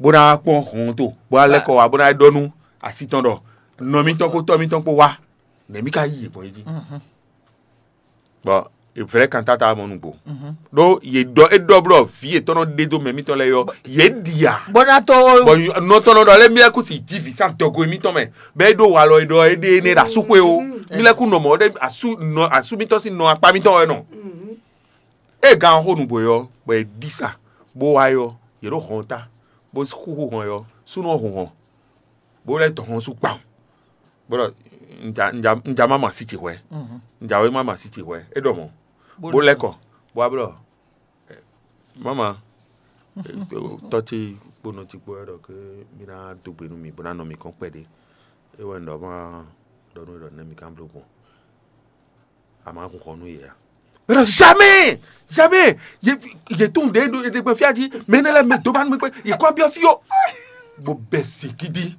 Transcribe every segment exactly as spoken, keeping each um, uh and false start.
bó ná kpɔ́n hɔn to, bó ná lɛ́ kɔ wá, bó ná ɖɔ nú asi tɔn ɖɔ nɔ mitɔn kpó tɔ́ mitɔn kpó wá, nɛ̌ mì ka yí yě gbɔn é jí? Bɔ è vlɛ́ kantata ɔ́ mɔ nǔgbó. Ɖó yě ɖɔ é ɖɔ blɔ vǐ yětɔn nɔ ɖe dó mɛ mitɔn lɛ́ɛ ɔ́, yě ɖi ǎ. Bó ná tó. Bɔ nɔ tɔn nɔ ɖɔ lé mí lɛ́ kú si jí vǐ sín adɔgo mitɔn mɛ, bɔ é ɖó walɔ é ɖɔ é ɖe énɛ́ ɖo asúxwé ó. Mí lɛ́ kú nɔ mɔ̌ ɖé asú nɔ asú mitɔn sín nɔ akpá mitɔn wɛ nɔ. Ée gan ɔ́ xo nǔgbó é ɔ́, bɔ è ɖi sa, bó wá é ɔ́, yě ɖo hɔn ta, bó xúxú hɔn é ɔ́, súnnu ɔ́ hun hɔn, bó lɛ́ tɔ hɔn sú kpawun. Bó ɖɔ un ja un ja un ja má ma sí ce hwɛ̌. Un ja wé má ma sí ce hwɛ̌. É ɖɔ mɔ̌. Bó lɛ́ kɔ, bó wá blɔ mama tɔ́ ce kpónɔ ce kpó wɛ ɖɔ ké mí ná dó gbe nú mì bó ná nɔ mì kɔn kpɛɖé. É wɛ un ɖɔ má ɖɔ nú é ɖɔ nɛ́ mì ká bló gbɔn. A ma hun xɔ nú yě a? Mɛ ɖɔ jamais, jamais. Yě yě tún ɖě ɖo ɖe gbɛ fia jí. Mɛ énɛ́ lɛ́ɛ mɛ dó ba nú mi kpé. Yě kó abiɔ fí o. Bó bɛ sigidi.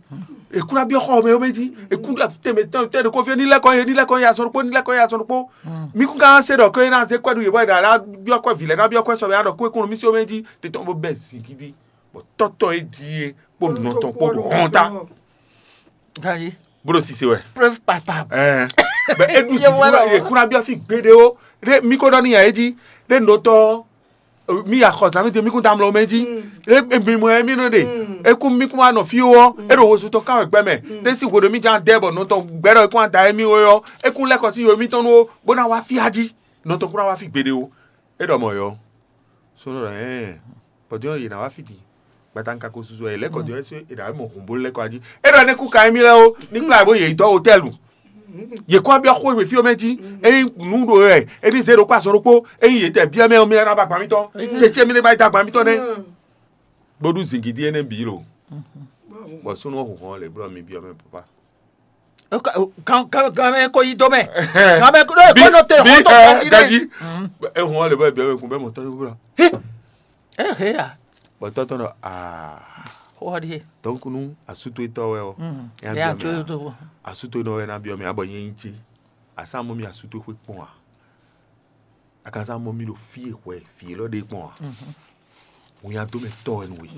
Ekún abiɔ xɔ mɛ yɔmɛ jí. Ekún tɛmɛ tɛmɛ tɛmɛ kó fí ní lɛkɔ yé ní lɛkɔ yé azɔn ɖokpó ní lɛkɔ yé azɔn ɖokpó. Mi kún ká se ɖɔ ké ná zé kwɛ́ ɖu yě bɔ yě ná biɔ kwɛ́ vǐ lɛ́ɛ ná biɔ kwɛ́ sɔbɛ ná ɖɔ kó ekún mí sí omɛ jí. Tètè bó bɛ sigidi. Bɔ tɔ́tɔ́ é jí é kpó nɔ tɔn kpó ɖo hɔn ta. Ganyi. Bó ɖo sise wɛ. Preuve palpable. Ɛɛ bɛ eɖu si Yevu wɛ lɔ. Ekuna biɔ fi gbeɖe o ɖe mi ko ɖɔ ni ya eji ɖe nɔ tɔ mi ya xɔ zan mi te mi kun tamlɔ mɛ ji ɖe mi mɔ ɛ mi nɔ ɖe ekun mi kun wa nɔ fi o ɔ e ɖo wozu tɔn kan wɛ gbɛ mɛ ɖe si hweɖo mi jan dɛ bɔ nɔ tɔn gbɛ ɖɔ ekun ada ɛ mi o yɔ ekun lɛ kɔ si yo mi tɔn nu o bó na wa fi aji nɔ tɔn kun na wa fi gbeɖe o e ɖɔ mɔ yɔ. Sɔ́ nɔ ɖɔ ɛɛ bɔdɔn yě ná wá fiti gbata un ka ko susu ɛ lɛ́ kɔ jɔ ɛsɛ è ɖǎ mɔ hǔn bó lɛ́ kɔ ají é ɖɔ ní kú ka émí lɛ́ɛ ó ní kplá bó yě dɔ́ hotɛ́lu. Yě kɔ byɔ́ xó e fí ɔ́ mɛ jí ényí nǔ ɖo ɛ ényí zé ɖokpó azɔn ɖokpó ényí yě tɛ byɔ́ mɛ ɔ́ mí lɛ́ ná ba gbǎn mítɔn tetsí émí lɛ́ ba yi dó agban mítɔn nɛ́. Bó ɖu zǐngídí énɛ́ bǐ lo bɔ súnnu ɔ́ hun hɔn lě blɔ́ mi byɔ́ mɛ papa. Kan kan kan mɛ ko yi do mɛ. Kan mɛ ko ɖo ko nɔ te hɔn tɔ kan ti ɖe. Ehun ɔ́ lě bɔ byɔ́ mɛ kun bɛ mɔ tɔ́ yó blɔ. Ehe ya. Bɔ tɔ́ tɔn ɖɔ aa. Xɔ ɖi. Donc nu asuto etɔ wɛ o. Ya Ya byɔ́ tso mɛ to. Asuto nɔ wɛ na byɔ́ mɛ abɔ nyɛ nyi ce. Asa mɔ mi asuto xwe kpɔn a. Akaza mɔ mi ɖo fí e hwɛ fí élɔ́ ɖe kpɔn a. Wun ya dó mɛ tɔ wɛ nú we.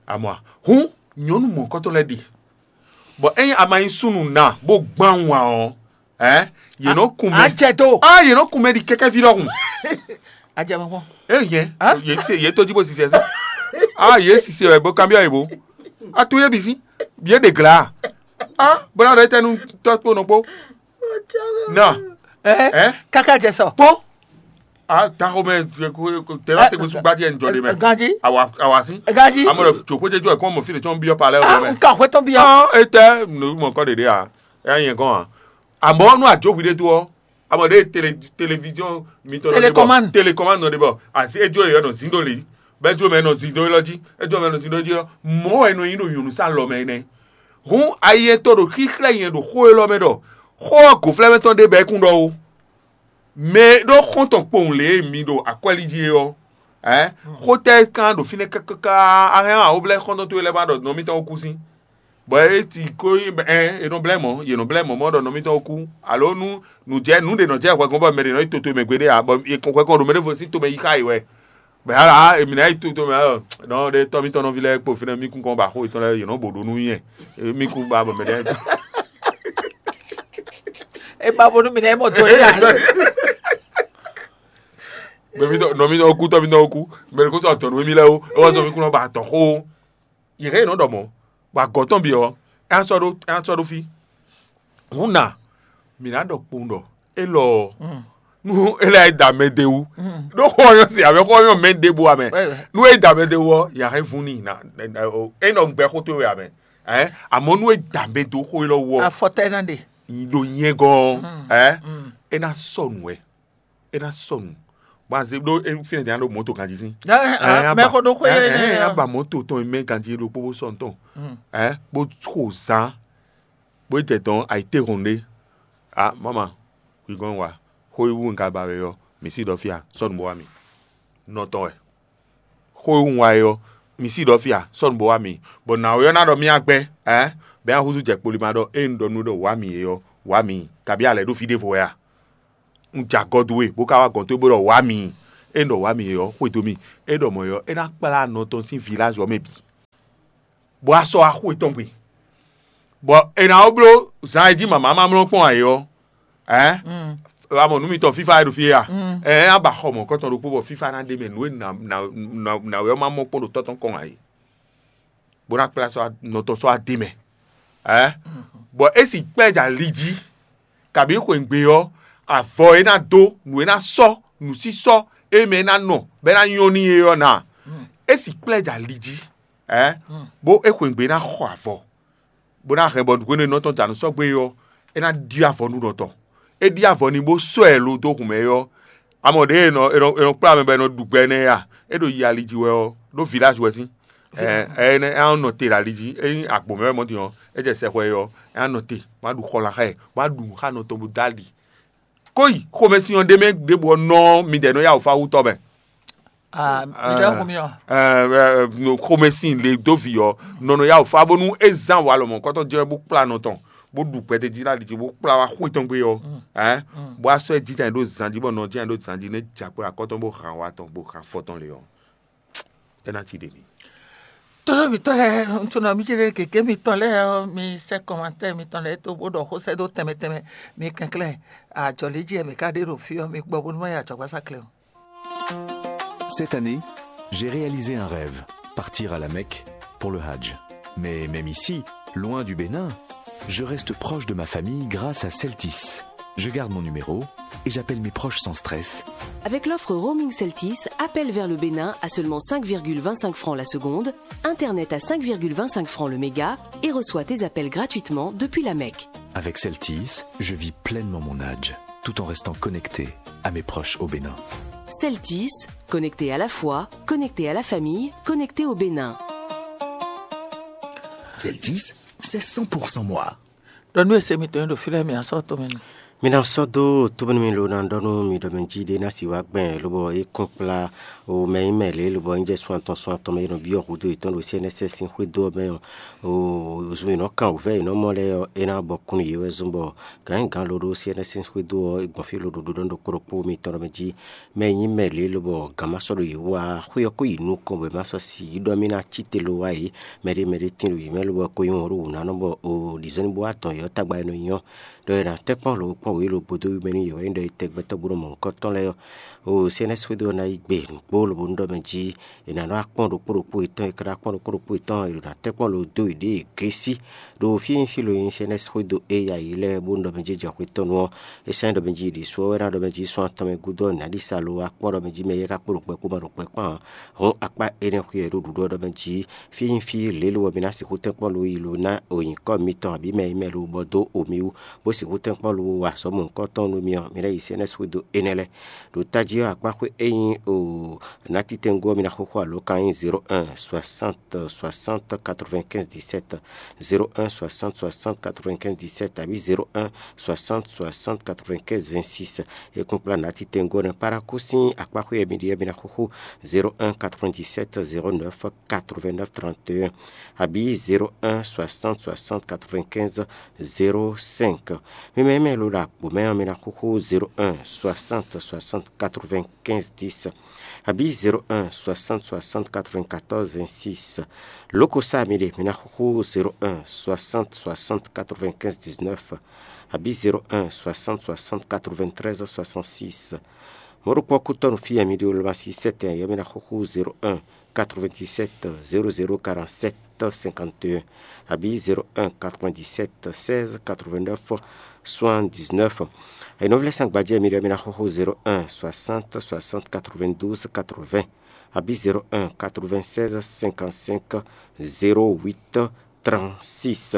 Amɔ a hun nyɔnu mɔ̌kɔtɔn lɛ́ɛ ɖe. Bɔ ényí a ma nyí súnnu ná bó gbán wǎn ɔ́, ɛ̌, yě nɔ kun mɛ. Acɛ do. Ah, yě nɔ kun mɛ ɖi kɛkɛ́ví ɖɔhun. Acɛ mɔ kpɔn. Eye yɛn, yě se yě tó jí bó sisɛ sá. Ah, yě sisɛ wɛ bó kanbyɔ́ yě bó. A to yé bǐ sí. Yě ɖe glǎ. Ah, bó ná ɖɔ étɛ́ nú tɔ́ kpó nɔ kpó. Nɔ. Ɛ Ɛ? Kaka jɛ sɔ. Kpó. Ah, taxo mɛ tɛlá se gbésù gbájí ɛ ń jɔ ɖe mɛ. Ganji. Awa awa sí. Ganji. Amɔ ɖe tso kó jẹjọ ɛ kó mɔ fi ɖe tsɔn biɔ palɛ Ah, ɔbɛ. Nka hwetɔn biɔ. Ah, etɛ nu mɔ kɔ ɖeɖe a. Ɛ yẹn gɔn a. Amɔ nu adzo hwi ɖe do ɔ. Amɔ ɖe télé télévision mi tɔ Télécommande. Télécommande nɔ ɖe bɔ asi edzo yɛ nɔ zindo li. Bɛ edzo mɛ nɔ zindo lɔ ji. Edzo mɛ nɔ zindo ji ɔ. Mɔ ɛ nɔ yin ɖo nyɔnu sa lɔ mɛ nɛ. Hun ayi to ɖo xixlɛ yẹn ɖo xó élɔ́ mɛ ɖɔ xó ɔ gǒflɛ́mɛ tɔn ɖe bɛ kún ɖɔ o. Mɛ e ɖó xɔ́ntɔn kpowun lě e mi ɖo akwɛ́lí jí é ɔ́, ɛ̌, xótɛ́ kan ɖo fínɛ́ káká, a hɛn a wǒ blɛ́ xɔ́ntɔn towe lɛ́ɛ ba ɖɔ nɔ mitɔn kú sín. Bɔ é ti ko ɛ è nɔ blɛ́ mɔ̌, yě nɔ blɛ́ mɔ̌ mɔ̌ ɖɔ nɔ mitɔn kú, alo nú nǔ jɛ nǔ ɖě nɔ jɛ hwɛgɔn bɔ mɛ ɖě nɔ yi toto mɛ gbeɖé ǎ, bɔ è kɔn hwɛkɔn ɖo mɛ ɖěvo sín tomɛ yi xá yě wɛ. Bɔ yǎ ǎ, èmi ná yi toto mɛ ǎ, nɔ ɖe tɔ́ mitɔn nɔví lɛ́ɛ kpo fínɛ́ mí kún kɔn ba xó yětɔn lɛ́ɛ, yě nɔ bo ɖó nú nyɛ, mí kún ba bɔ mɛ ɖě. E ba bo nú mi nɛ e mɔ do ɖé ǎ. Mɛ mi tɔ nɔ mi tɔ kú tɔ mi tɔ kú mɛ ɖě kó sɔ tɔ nú mi lɛ o e wɔ sɔ mi kú nɔ ba tɔ xó. Yě hɛn nɔ ɖɔ mɔ̌, bɔ agɔ̌ tɔn bǐ ɔ́, é ná sɔ́ ɖó é ná sɔ́ ɖó fí. Hǔn nǎ, mǐ ná ɖɔ kpowun ɖɔ élɔ́ ɔ́, nú é lɛ́ da mɛ ɖé wú, ɖó xó ɔ́ nyɔ́ se ǎ mɛ, xó ɔ́ nyɔ́ mɛ ɖěbǔ ǎ mɛ. Nú é da mɛ ɖé wú ɔ́, yǎ hɛn vún n'i ná, é nɔ gbɛ xó towe ǎ mɛ. Ɛ̌, amɔ̌ nú é da mɛ dó xó élɔ́ wú ɔ́, Afɔtɛ́ ná ɖe. Ɖo nyɛ gɔ́n ɔ́, ɛ, é ná sɔ nǔ wɛ, é ná sɔ nǔ. Bɔ azé ɖó fínɛ́ din ɖó mɔ̌to ganjí sín. Ɛ, ɛ, mɛ xɔ ɖó xwé ɛ, ɛ, ɛ, ɛ, aba mɔ̌to tɔn mɛ ganjí ɖokpó bó sɔ nǔ tɔn. Ɛ, bó xo zán, bó yi tɛ tɔn ayǐtéhɔn ɖé. A mama, hwi gɔ́n wa, xó e wú un ka ba wɛ ɔ́, mǐ sí ɖɔ fí a, sɔ́ nǔ bó wá mi. Nɔ tɔn wɛ. Xó e wú un wa é ɔ́, mi sí ɖɔ fí a, sɔ́ nǔ bó wá mi. Bɔ nǎwe ɔ́ ná ɖɔ mì agbɛ́, ɛ, bɔ é ná húzú jɛ kpoli ma ɖɔ ée un ɖɔ nú ɖɔ wǎ mi é ɔ́, wǎ mi, kabí a lɛ̌ ɖo fí ɖěvo wɛ a? Un jɛ agɔ dó we, bó ka wá gɔ̌n towe bó ɖɔ wǎ mi. Ée un ɖɔ wǎ mi é ɔ́, xwedó mì. É ɖɔ mɔ̌ é ɔ́, é ná kplá nɔ tɔn sín vilázi ɔ́ mɛ bǐ. bɔ a sɔ́ axú yětɔn gbe. Bɔ è nǎ wó bló zan e jí mama ma mlɔ́ kpɔ́n ǎ é ɔ́, ɛ̌, a mɔ nǔ mitɔn fífá e ɖo fí é a? Ɛ̌, a ba xɔ mɔ̌kɔtɔn ɖokpó bɔ fífá ná ɖe mɛ nǔ e nǎ wɛ ɔ́ ma mɔ kpɔ́n ɖo tɔ́ tɔn kɔn ǎ é, bó ná kplá sɔ́ nɔ tɔn sɔ́ adé mɛ. Ɛ̌, bɔ é si kplá ɛ jɛ ali jí, kabǐ xweyǐgbe ɔ́, avɔ e ná dó, nǔ e ná sɔ́, nǔsísɔ́ e mɛ e ná nɔ bɔ é ná nyɔ́ n'i é ɔ́ ná, é si kplá ɛ jɛ ali jí. Ɛ̌, bó é xweyǐgbe ná xɔ avɔ, bó ná hɛn bɔ hwenu e nɔ tɔn da nǔ sɔ́ gbé é ɔ́, é ná ɖyɔ́ avɔ nú nɔ tɔn. É ɖyɔ́ avɔ n'i bó sɔ́ ɛ lo dó hun mɛ é ɔ́, a mɔ ɖěe è nɔ è nɔ è nɔ kplá mɛ bɔ è nɔ ɖu gbɛ nɛ́ a? É ɖo yi ali jí wɛ ɔ́, ɖó vilázi wɛ sín. Ɛ ɛ é nɔ te ɖo ali jí, ényí agbo mɛ wɛ mɔ din ɔ́, é jɛ sɛxwɛ é ɔ́, é ná nɔ te, bó ná ɖu xɔlan xá ɛ, bó ná ɖu nǔ xá nɔ tɔn bó dó ali. Kó yi xomɛsin ɔ́ ɖé mɛ ɖěbǔ ɔ́ nɔ midɛɛ nɔ yá wǔ fá wú tɔ́ mɛ. Mi ɖɔ xó mi ɔ́. Xomɛsin le dó vǐ ɔ́, nɔ nɔ yá wǔ fá bónú é zán wǎ lɔmɔ̌kɔ́tɔn jɛ wɛ bó kplá nɔ tɔn, bó ɖu gbɛtɛ́ jí ɖo ali jí bó kplá wá xwé tɔn gbé ɔ́, bó wá sɔ́ ɛ jínjɔ́n ɖó zan jí bɔ nɔ jínjɔ́n ɖó zan jí nú é jɛ akpó ɖo akɔ́ tɔn bó han wa tɔn bó han afɔ tɔn lě ɔ́, é ná cí ɖe mì. Tónú mitɔn lɛ́ɛ, ntɔnɔ mi jɛ gěgé mitɔn lɛ́ɛ ɔ́, mi sɛ́ kɔmantɛ́ mitɔn lɛ́ɛ tó bó ɖɔ xó sɛ́ dó tɛnmɛ tɛnmɛ, mi kɛnklɛ́n ajɔ̌ lě jí wɛ mǐ ka ɖe ɖo fí ɔ́, mi gbɔ bónú má yi ajɔ̌gbázá klɛ́ o. Cette année, j'ai réalisé un rêve, partir à la Mecque pour le Hajj. Mais même ici, loin du Bénin, je reste proche de ma famille grâce à Celtis. Je garde mon numéro et j'appelle mes proches sans stress. Avec l'offre Roaming Celtis, appel vers le Bénin à seulement cinq virgule vingt-cinq francs la seconde, Internet à cinq virgule vingt-cinq francs le méga et reçois tes appels gratuitement depuis la Mecque. Avec Celtis, je vis pleinement mon Hajj, tout en restant connecté à mes proches au Bénin. Celtis, connecté à la foi, connecté à la famille, connecté au Bénin. Celtis, c'est cent pour cent moi. Ɖɔ nú e se mitɔn e ɖo fí lɛ́ɛ mɛ, a sɔ́ tomɛ n'i. Mi ná sɔ́ dó tóbɛ́númí ló ná ɖɔ nú mi ɖɔ mɛ jí ɖé ná si wá gbɛn lobɔ é kɔn kplá o mɛ nyí mɛ lě lobɔ é jɛ sun atɔn sun atɔn mɛ e nɔ byɔ́ hudó yětɔn ɖo C N S S sín xwédo ɔ́ mɛ ɔ́, o zun e nɔ kan wǔvɛ́ e nɔ mɔ lɛ́ɛ ɔ́, é ná bɔ kún nú yě wɛ zɔ́n bɔ gǎngán ló ɖó C N S sín xwédo ɔ́, é gbɔn fí ló ɖo ɖoɖó ɖokpó ɖokpó mitɔn ɖɔ mɛ jí mɛ e nyí mɛ lě lobɔ gǎn ma sɔ́ ɖo yě wú ǎ, xwé ɔ́ kó yi nukɔn bɔ è ma sɔ́ si yi ɖɔ mì ná cí te lo wá yě. Mɛɖé mɛɖé tín ɖo yě mɛ lobɔ é ko nyí wɔ̌n ɖo wǔnánɔ bɔ o ɖi zɔ́n ní bó wá dɔn yě ɔ́ tagba e nɔ nyi ɔ́, ɖɔ è nǎ tɛ́nkpɔ́n lǒ kpɔ́n wǔ yi lo gbodó wí mɛ nú yě wɛ nyí ɖɔ è tɛgbɛtɔ́ bó nɔ mɔ nǔkɔntɔn lɛ́ɛ ɔ́, o C N S xwédo ɔ́ ná yi gbe nǔgbó lobo nú ɖɔ mɛ jí è nǎ nɔ wá kpɔ́n ɖokpó ɖokpó yětɔn, è ka ná kpɔ́n ɖokpó ɖokpó yětɔn è ɖo ná tɛ́nkpɔ́n lǒ dó yě ɖěe gěsí. Ɖo fí e nyí fí lo e nyí C N S xwédo éya yě lɛ́ɛ bó nɔ mɛ jɛ jɔ xwetɔ́nu ɔ́, é sɛ́n ɖɔ mɛ jí ɖi su ɔ́ wɛ ná ɖɔ mɛ jí sɔ́n atɔn mɛ gúdo ɔ́, nǎ ɖi sa lo wá kpɔ́ ɖɔ mɛ jí mɛ yɛ ka kpo ɖo kpɛ kpó ma ɖo kpɛ kpán ǎ. Hɔn akpá énɛ́ xwí wɛ ɖo ɖuɖu ɔ́ ɖɔ mɛ jí fí e nyí fí lě lo wɛ mi ná sixú tɛ́nkpɔ́n lo yi lo ná o nyǐkɔ mitɔn abǐ mɛ e mɛ lo bɔ dó o mi wú, bó sixú tɛ́nkpɔ́n lo wa azɔ̌ mɔ̌hunkɔtɔn nú mi ɔ́, mi ná yi C N S xwédo énɛ́ lɛ́ɛ. Ɖo tají ɔ́, akpá xwé é nyí o nátitɛngo ɔ́, mi ná xóxó alǒkan nyí zéro un soixante soixante quatre-vingt-quinze dix-sept, zéro un soixante soixante quatre-vingt-quinze dix-sept abǐ zéro un soixante soixante quatre-vingt-quinze vingt-six. É kún kplá nǎtitɛngo ɔ́ nɛ́ Parakou sín akpá xwé e mi ɖe ɔ́, mi ná xóxó zéro un quatre-vingt-dix-sept zéro neuf quatre-vingt-neuf trente et un abǐ zéro un soixante soixante quatre-vingt-quinze zéro cinq. Mi mɛ e mɛ lo ɖo agbo mɛ ɔ́, mi ná xóxó zéro un soixante soixante quatre-vingt-quinze dix abǐ zéro un soixante soixante quatre-vingt-quatorze vingt-six. Loko sá mi ɖe, mi ná xóxó zéro un soixante soixante quatre-vingt-quinze dix-neuf abǐ zéro un soixante soixante quatre-vingt-treize soixante-six. Mɔ̌ ɖokpó ɔ́ kútɔ́ nú fí e mi ɖe Olomasi sɛ́tɛn ɔ́, mi ná xóxó zéro un quatre-vingt-dix-sept zéro zéro quarante-sept cinquante et un abǐ zéro un quatre-vingt-dix-sept seize quatre-vingt-neuf soixante-dix-neuf. È nɔ vlɛ́ sán gbajɛ mi ɖɔ mi ná xóxó zéro un soixante soixante quatre-vingt-douze quatre-vingts abǐ zéro un quatre-vingt-seize cinquante-cinq zéro huit trente-six.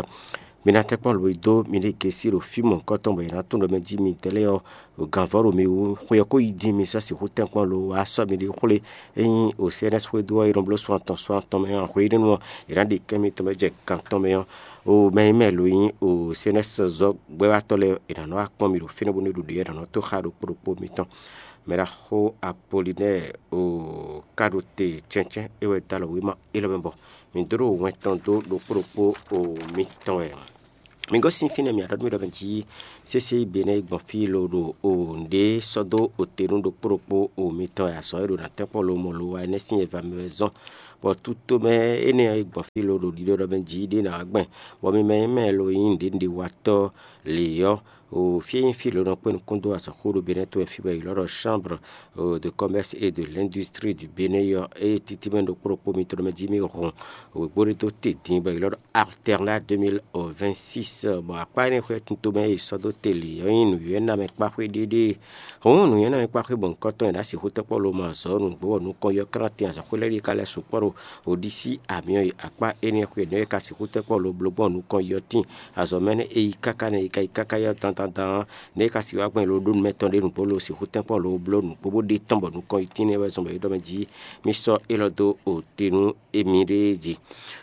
Mi ná tɛ́nkpɔ́n lo e dó mi ɖe gěsí ɖo fí mɔ̌hunkɔtɔn bɔ è nǎ tunwun ɖɔ mɛ jí mi tɛ́ lɛ́ɛ ɔ́, gǎnvɔ́ ɖo mi wú, xwe ɔ́ ko yi dín mi sɔ́ sixú tɛ́nkpɔ́n lo wá sɔ́ mi ɖi xwlé. Ényí o C N S xwédo ɔ́, è nɔ bló sun atɔn sun atɔn mɛ ɔ́, hwenɛ́nu ɔ́, è nǎ ɖe kɛ́n mitɔn mɛ jɛ gan tɔn mɛ ɔ́, o mɛ e mɛ lo nyí o C N S zɔ́gbɛ́wátɔ́ lɛ́ɛ, è nǎ nɔ wá kpɔ́n mi ɖo fínɛ́ bónú é ɖo ɖě ɔ́, è nǎ nɔ tó xá ɖokpó ɖokpó mitɔn. Mɛ ɖaxó Apolinɛ́ɛ o ka ɖo te cɛ́ncɛ́n é wɛ dó alɔ wěma élɔ́ mɛ bɔ mǐ dó ɖo wɛn tɔn dó ɖokpó ɖokpó o mitɔn wɛ. Mi gosín fínɛ́ mǐ aɖɔ́ mì ɖɔ mɛ jí sésé Benɛ́ɛ gbɔn fí lo ɖo o nǔɖé sɔ́ dó ote nú ɖokpó ɖokpó o mitɔn wɛ azɔ̌ e ɖo ná tɛ́nkpɔ́n lo mɔ lo wa énɛ́ sín nyɛva mɛ wɛ zɔ́n, Bɔ tutomɛ énɛ́ ɔ́, é gbɔn fí lo ɖo ɖiɖɔ ɖɔ mɛ jí ɖé ná wá gbɛn, bɔ mi mɛ e mɛ lo nyí nǔɖénúɖéwatɔ́ lě ɔ́, o fí e nyí fí lo nɔ kpé nukún dó azɔ̌xó ɖo Benɛ́ to wɛ fí bɔ è ylɔ́ ɖɔ Chambre de Commerce et de l'Industrie du Bénin ɔ́, ée títí mɛ ɖokpó ɖokpó mitɔn mɛ jí mì hɔn wěgbó ɖé dó te din bɔ è ylɔ́ ɖɔ Alternat deux mille vingt-six. Bɔ akpá énɛ́ xwé tutomɛ e è sɔ́ dó te lě ɔ́ nyí nǔnywɛ́númɛkpáxwé ɖéɖée. Hǔn nǔnywɛ́númɛkpáxwé bɔ̌nkɔ́tɔn e ná sixú tɛ́nkpɔ́n lo mɔ azɔ̌ nǔgbó bɔ nukɔn yɔ́ krán tin azɔ̌xwé lɛ́ɛ ɖíe ka lɛ́ sukpɔ́ ɖo Odisí amyɔ e akpá énɛ́ xwé nǔ e ka sixú tɛ́nkpɔ́n lo bló gbɔn nukɔn yɔ́ tin azɔ̌ mɛ nɛ́ e yi káká nɛ́ e ka yi káká yɔ́ dandandan ɔ́, nɛ́ e ka sixú wá gbɔn lo ɖó nú mɛ tɔn ɖé nǔgbó lo sixú tɛ́nkpɔ́n lo bló nǔgbó bó ɖe tɔ́n bɔ nukɔn yi tín nɛ́ wɛ zɔn bɔ é ɖɔ mɛ jí mì sɔ́ élɔ́ dó o te nú émí ɖée jí.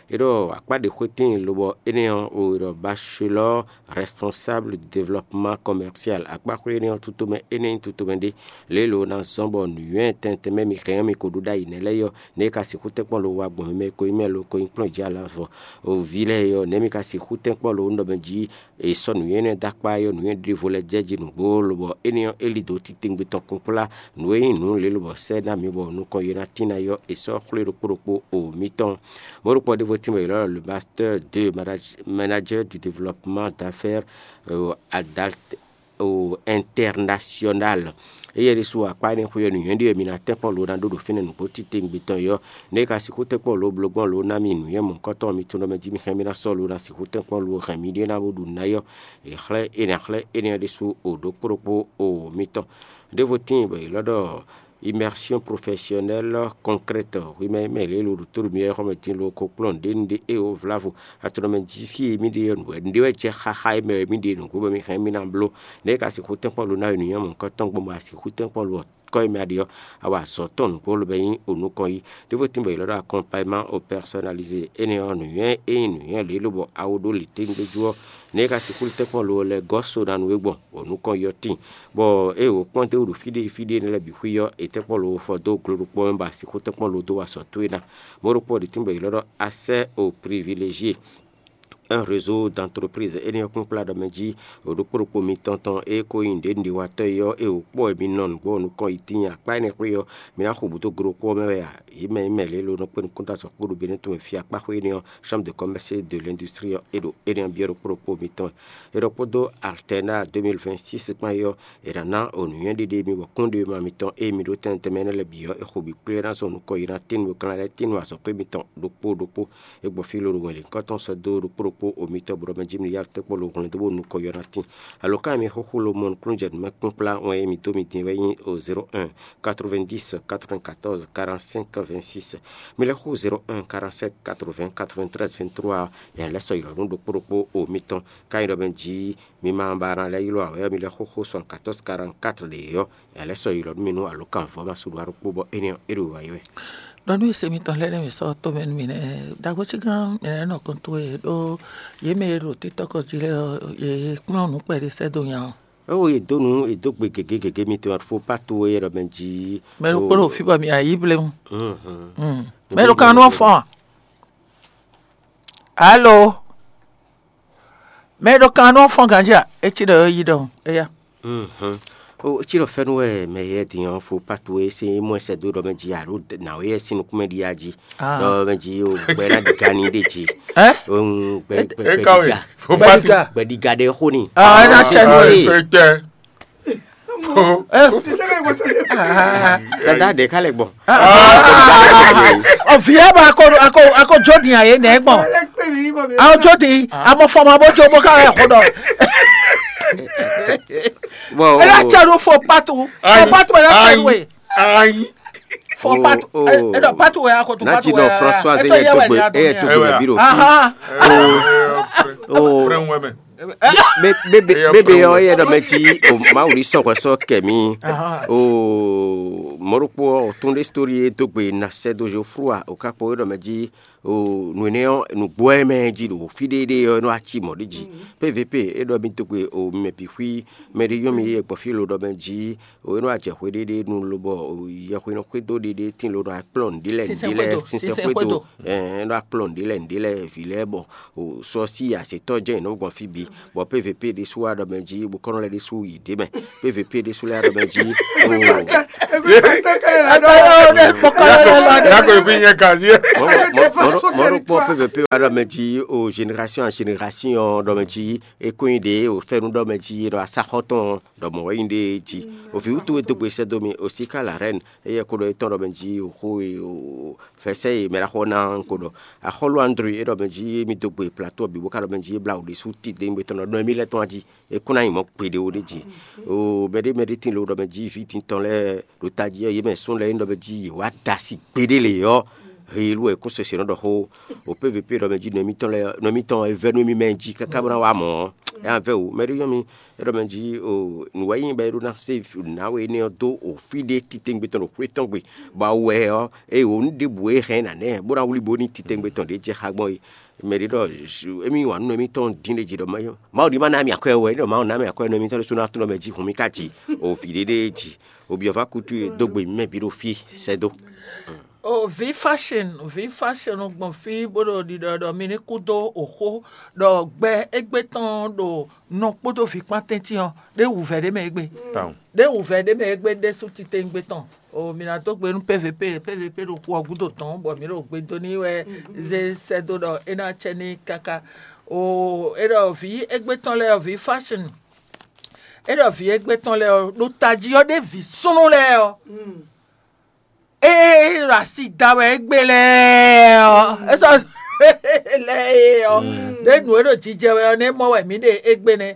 É ɖɔ akpá ɖě xwetɛ́n lobɔ énɛ́ ɔ́, o è ɖɔ bachelor responsable du développement commercial. Akpáxwé énɛ́ ɔ́, tutomɛ énɛ́ nyí tutomɛ ɖé lě e lo ná zɔ́n bɔ nǔnywɛ́ tɛntɛn mɛ mi hɛn ɔ́, mi ko ɖó ɖ'ayǐ nɛ́ lɛ́ɛ ɔ́, nɛ́ é ka sixú tɛ́nkpɔ́n lo wa gbɔn mi mɛ e ko nyí mɛ lo ko nyí kplɔ́n jí alavɔ o vǐ lɛ́ɛ é ɔ́, nɛ̌ mi ka sixú tɛ́nkpɔ́n lo nú ɖɔ mɛ jí è sɔ́ nǔnywɛ́ énɛ́ dó akpá é ɔ́, nǔnywɛ́ ɖěvo lɛ́ɛ jɛ jí nǔgbó, lobɔ énɛ́ ɔ́, é lí dǒ titewungbe tɔn kunkplá nǔ e nyí nǔ lě lobɔ sɛ́ ná mi bɔ nukɔn yě ná tín ná yɔ́ è sɔ́ xwlé ɖokpó ɖokpó o mitɔn. Mɔ̌ ɖokpó ɔ́ ɖěvo tínmɛ è ylɔ́ ɖɔ le pasteur de manager du développement d'affaires adalt o international. Éyɛ́ ɖésú akpá énɛ́ xwé ɔ́, nǔnywɛ́ ɖé wɛ mi ná tɛ́nkpɔ́n lo ná ɖó ɖo fínɛ́ nǔgbó titewungbe tɔn é ɔ́, nɛ́ é ka sixú tɛ́nkpɔ́n lo bló gbɔn lo ná mi nǔnywɛ́ mɔ̌hunkɔtɔn mitɔn ɖɔ mɛ jí mi hɛn mi ná sɔ́ lo ná sixú tɛ́nkpɔ́n lo hɛn mi ɖé ná bó ɖu nǔ ná é ɔ́, è xlɛ́ é ná xlɛ́ énɛ́ ɔ́ ɖésú o ɖokpó ɖokpó o mitɔn. Ɖěvo tíin bɔ è ylɔ́ ɖɔ immersion professionnelle concrète hwi mɛ e mɛ lě e lo ɖo tóɖo mi wɛ xɔmɛ din lo ko kplɔ́n nǔɖé nǔɖé e o vlávo atɔnɔmɛ jí fí e mì ɖe ɔ́ nǔ wɛ nǔɖé wɛ jɛ xaxa e mɛ wɛ mì ɖe nǔgbó bɔ mi hɛn mì ná bló. Nɛ̌ e ka sixú tɛ́nkpɔ́n lo ná yi nǔnywɛ́ mɔ̌hunkɔtɔn gbɔn bɔ a sixú tɛ́nkpɔ́n lo ɔ́ kɔ́ e mɛ a ɖe ɔ́, a wa azɔ̌ tɔn nǔgbó lobɛ nyí o nukɔn yí. Ɖěvo tín bɔ è ylɔ́ ɖɔ accompagnement au personnalisé énɛ́ ɔ́, nǔnywɛ́ e nyí nǔnywɛ́ lě lobɔ a wo ɖó lǐténgbéjú ɔ́, nɛ̌ e ka sixú tɛ́nkpɔ́n lo ɔ́ lɛ́ gɔ́ so ná nú we gbɔn o nukɔn yí ɔ́ tíin. Bɔ ée wǒ kpɔ́n dó ɖo fí ɖé fí ɖé énɛ́ lɛ́ɛ bǐ xwí ɔ́, è tɛ́nkpɔ́n lo fɔ dó glodokpɔ́ mɛ bɔ a sixú tɛ́nkpɔ́n lo dó wa sɔ̌ towe ná. Mɔ̌ ɖokpó ɔ́ ɖi tínbɔ è ylɔ́ ɖɔ accès au privilégié, un réseau d'entreprise énɛ́ ɔ́ kpínkplá ɖɔ mɛ jí ɖokpó ɖokpó mitɔn tɔn e ko nyí nǔɖénúɖéwatɔ́ é ɔ́, é wǒ kpɔ́ wɛ mi nɔ nǔgbó ɔ́ nukɔn yi tíin akpá énɛ́ xwé ɔ́, mi ná xo bǔ dó glodokpɔ́ mɛ wɛ a? Yě mɛ nyí mɛ lě e lo nɔ kpé nukúnta sɔ́ kpó ɖo Benɛ́ tɔn wɛ fí akpá xwé énɛ́ ɔ́, Chambre de commerce et de l'industrie ɔ́, é ɖo énɛ́ ɔ́ byɔ́ ɖokpó ɖokpó mitɔn wɛ. È ɖɔ kpódó Alternat deux mille vingt-six kpán é ɔ́, è nǎ ná o nǔnywɛ́ ɖéɖé mi bɔ kún ɖe ma mitɔn e mi ɖó tɛnmɛ tɛnmɛ énɛ́ lɛ́ɛ bǐ ɔ́, è xo bǐ kplé ná zɔn nukɔn yi ná tín nukɔn lɛ́ɛ tín azɔ̌ xwé mitɔn ɖokpó ɖokpó. É gbɔn fí lóɖo wɛn lǐnkɔ́n tɔn sɔ́ dó ɖokpó ɖokpó o mitɔn bó ɖɔ mɛ jí mi yá tɛ́nkpɔ́n lo hwlɛ́n dó bó nukɔn yɔ ná tín. Alǒkan e mi xúxú lo mɔ nukúnnú jɛ nǔ mɛ kpínkplá wɛn e mi dó mi din wɛ nyí o zéro un quatre-vingt-dix quatre-vingt-quatorze quarante-cinq vingt-six. Mi lɛ́ xú zéro un quarante-sept quatre-vingts quatre-vingt-treize vingt-trois ɔ́, è nǎ lɛ́ sɔ́ ylɔ̌ nú ɖokpó ɖokpó o mitɔn. Ká nyí ɖɔ mɛ jí mi ma ba ná lɛ́ ylɔ́ ǎ wɛ ɔ́, mi lɛ́ xóxó soixante-quatorze quarante-quatre ɖě ɔ́, è nǎ lɛ́ sɔ́ ylɔ̌ nú mi nú alǒkanvɔ́ ma sú ɖó ɖokpó bɔ énɛ́ ɔ́, é ɖo wǎ yi wɛ. Ɖɔ nú sɛ́mítɔn lɛ́ɛ nɛ́ mǐ sɔ́ tomɛ nú mi nɛ́, ɖagbojígán mǐ nɛ́ nɔ kɔn towe ɖó yě mɛ e ɖo títɔ́kɔ jí lɛ́ɛ ɔ́, yě kplɔ́n nǔ kpɛɖé sɛ́ dó nya ɔ́. Ó, è dǒ nǔ, è dó gbe gěgé gěgé mitɔn, fó pá towe yɛ ɖɔ mɛ jí. Mɛ ɖokpó ɖo fí bɔ mi ayǐ blewun. Mɛ ɖo kan nú ɔ́ fɔ́n a? Alo? Mɛ e ɖo kan nú ɔ́ fɔ́n ganjí a? É cí ɖɔ é yí ɖɔhun éyá. Ó, cí ɖɔ fɛ́nú wɛ mɛ yɛ din ɔ́ fó patu e sín mɔ ɛsɛ dó ɖɔ mɛ jí alo nǎwe yɛ sín nukún mɛ ɖíe a jí. Ɖɔ mɛ jí o gbɛ ná ɖi ga ní ɖe jí. Ɛ? Gbɛ gbɛ gbɛ ɖi ga. Fó patu. Gbɛ ɖi ga ɖe xó ni. Ah, ɛ ná tsɛ nú ɛ. Dada ɖe ká lɛ gbɔn. Ɔ vi yɛ ba ako ako ako jodi aye nɛ gbɔn. Awo jodi amɔ fɔmɔ abo jo bo ka yɛ xɔ dɔ. Bɔn ɛ na tsa ɖo fɔ patu fɔ patu ɛ na tsa ɖo ye. Fɔ patu ɛ dɔ patu ɛ ako to patu ɛ. Nati nɔ François ɛ yɛ dogbe ɛ yɛ dogbe biro. Bébé ɔ́ yɛ ɖɔ mɛ jí o Mawu ní sɔ́ hwɛ sɔ́ kɛ mì. O mɔ̌ ɖokpó ɔ́, o tún ɖé sítóri e dó gbe na sɛ́ dó Zoflúa, o ka kpɔ́ é ɖɔ mɛ jí o nǔ énɛ́ ɔ́, nǔgbó ɛ mɛ jí ɖo fí ɖé ɖé ɔ́, é nɔ wá cí mɔ̌ ɖé jí. P V P é ɖɔ mì dó gbe o mɛ bǐ xwí mɛ ɖé nyɔ́ mi é gbɔ fí lo ɖɔ mɛ jí o é nɔ wá jɛ xwé ɖé ɖé nu lobɔ o yɛxwé nɔ xwedó ɖé ɖé tín lo nɔ wá kplɔ́n nǔɖé lɛ́ɛ nǔɖé lɛ́ɛ sinsɛn xwedó. Ɛ é nɔ wá kplɔ́n nǔɖé lɛ́ɛ nǔɖé lɛ́ɛ vǐ lɛ́ɛ bɔ o sɔ sí asětɔ́ jɛ́n è nɔ gbɔn fí bǐ. Bɔ P V P ɖésú wá ɖɔ mɛ jí, bokɔ́nɔ lɛ́ɛ ɖésú yi ɖě mɛ. P V P ɖésú lɛ́ɛ wá ɖɔ mɛ jí. Yako ebi nyɛ kazi. Mɔɖokpɔ P V P wá ɖɔ mɛ jí o génération à génération ɖɔ mɛ jí, é kó nyi ɖě o fɛ́nú ɖɔ mɛ jí ɖɔ asáxɔ́ tɔn ɖɔ mɔ̌ wɛ nyi ɖě jí. O vǐ wútu e dó gbe sɛ́ dó mi o síká la rɛ́n, éyɛ́ kó ɖɔ étɔn ɖɔ mɛ jí o xó e o fɛsɛ́ e mɛ ɖaxó ná ko ɖɔ. Axɔ́lú André é ɖɔ mɛ jí mi dó gbe plateau bǐ bó ka ɖɔ mɛ jí é blá wǔ ɖésú titewungbe tɔn ɖɔ nɔ émí lɛ́ɛ tɔn jí é kún ná nyi mɔ̌ gbeɖé ó ɖé jí. O mɛɖé mɛɖé tín lo ɖɔ mɛ jí vǐ tintɔn lɛ́ɛ ɖo tají ɔ́, yě mɛ sún lɛ́ɛ é ɖɔ mɛ jí yě wá da asi gbeɖé lě ɔ́, helu wɛ kó sese nɔ ɖɔ xó. O P V P ɖɔ mɛ jí nɔ émítɔn lɛ́ɛ nɔ émítɔn e vɛ́ nú émí mɛ jí káká bó ná wá mɔ̌ ɔ́, é ná vɛ́ wǔ. Mɛɖé nyɔ́ mi é ɖɔ mɛ jí o nǔ wɛ nyí bɔ é ɖó ná sé nǎ we énɛ́ ɔ́ dó o fí ɖé titewungbe tɔn ɖo xwé tɔn gbe, bɔ awu wɛ ɔ́, eye wǒ nú ɖěbǔ e hɛn ná nɛ́ bó ná wlí bó ní titewungbe tɔn ɖě jɛ xá gbɔn é. Mɛ ɖě ɖɔ émí wa nú émítɔn dín ɖé jí ɖɔ Mawu ní ma ná mì akwɛ́ wɛ, ɖɔ Mawu ná mì akwɛ́ nú émítɔn ɖésú ná tlɔ́n mɛ jí hun mì ká jí o vǐ ɖé ɖé jí o byɔ̌ vá kútú e dó gbe mì mɛ bǐ ɖo fí sɛ́ dó. O vǐ fashion, vǐ fashion gbɔn fí bó ɖo ɖiɖɔ ɖɔ mi ní kú dó oxó ɖɔ gbɛ égbé tɔn ɖo nɔ kpódó vǐ kpán tɛ́ntin ɔ́, ɖé wǔvɛ́ ɖé mɛ égbé. Ɖé wǔvɛ́ ɖé mɛ égbé ɖésú titewungbe tɔn. O mi ná dó gbe nú P V P, P V P ɖo xu ɔ́ gúdo tɔn bɔ mǐ ɖo gbe dó n'i wɛ zé sɛ́ dó ɖɔ é ná cɛ n'i káká. O é ɖɔ vǐ égbé tɔn lɛ́ɛ ɔ́, vǐ fashion, é ɖɔ vǐ égbé tɔn lɛ́ɛ ɔ́, ɖo tají ɔ́ ɖé vǐ súnnu lɛ́ɛ ɔ́, ée ɖo asi da wɛ égbé lɛ́ɛ ɔ́, é sɔ́ lɛ́ɛ é ɔ́, ɖé nǔ e ɖo jijɛ wɛ ɔ́, nɛ́ mɔ wɛ mǐ ɖe égbé nɛ́,